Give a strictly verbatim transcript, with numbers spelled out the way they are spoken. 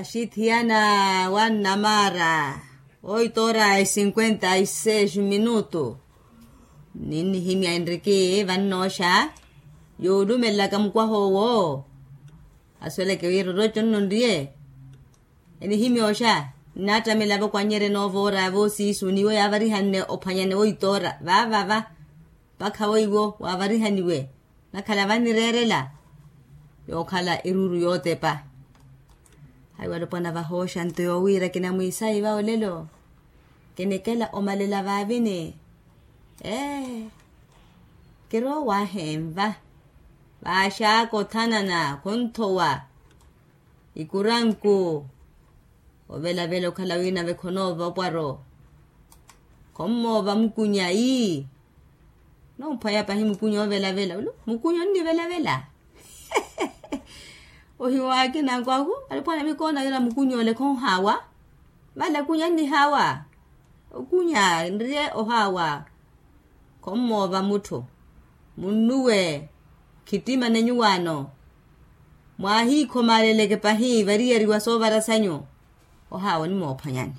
Axithiyana wa nnamaara oito ora e cinquenta e seis minutu. Ninnihimya enriki vannooxa yuulumelelaka mukwaha owo. Asweleke wira orocco nno nriye enihimya oxa. Nnaattamela vokwannyerya enoova ora voosiisu niwo yaavarihane ophwanyane woito ora vaavava mpakha weiwo waavarihaniwe. Nakhala vannireerela yookhala eruuru yootepa. Haiwa alopwana vahooxa nto yoowiira kinamwiisayi va olelo. Kinikela omalela vaavini ee kiroowahenva vaaxaaka othanana khonthowa ikuranku. Ovelavela okhala wina vekhonoova opwaro khommoova mukunya ii. Nomphwaya pahi mukunya ovelavela ulu mukunya onnivelavela. Ohiwaakina nkwahu alipwana mikoona yira mukunya ole khonhaawa. Vale kunya nnihawa. Okunya nriye ohawa. Khommoova mutthu munnuwe khittima nenyuwaano. Mwahiikhomaleleke pahi variyariwa soovara sanyu. Ohawa onimoophwanyani.